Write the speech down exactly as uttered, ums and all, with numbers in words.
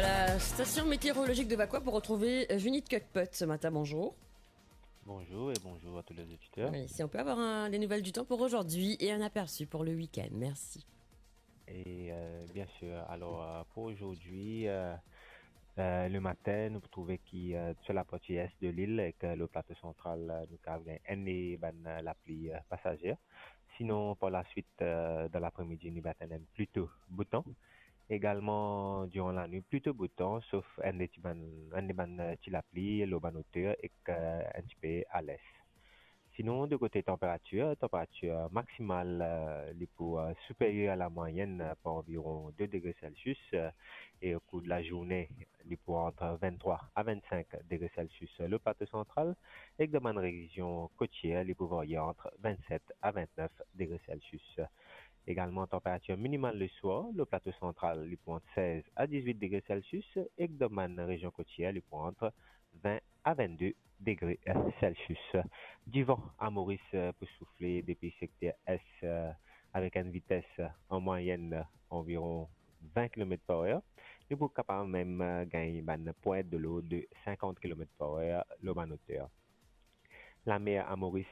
La station météorologique de Vacoas pour retrouver, euh, Junit Cuckpot ce matin. Bonjour. Bonjour et bonjour à tous les auditeurs. Oui, si on peut avoir un- des nouvelles du temps pour aujourd'hui et un aperçu pour le week-end. Merci. Et euh, bien sûr, alors euh, pour aujourd'hui, euh, euh, le matin, nou pou trouve ki euh, sur la partie est de l'île ek euh, le plateau central, euh, nou kav gagn enn bann euh, lapli euh, pasager. Sinon, par la suite, euh, dans l'après-midi, nou va tenir plutôt beau temps. Également, durant la nuit, plutôt beau temps, sauf enn ti bann, enn bann euh, ti lapli, lor bann oter ek euh, un petit peu à l'est. Sinon, de côté température, température maximale, euh, li pou euh, supérieure à la moyenne euh, par environ deux degrés Celsius euh, et au cours de la journée, li pou entre vingt-trois à vingt-cinq degrés Celsius euh, le plateau central et dans bann région côtière, li pou varier entre vingt-sept à vingt-neuf degrés Celsius. Également, température minimale le soir, le plateau central, li pou entre seize à dix-huit degrés Celsius et dans bann région côtière, li pou entre vingt à vingt-deux degrés Celsius. Du vent à Maurice euh, pou soufle depuis secteur est euh, avec une vitesse euh, en moyenne euh, environ vingt kilomètres par heure. Nou pou kapav mem euh, gagn bann pwint de l'ordre de cinquante kilomètres par heure lor bann oter. La mer à Maurice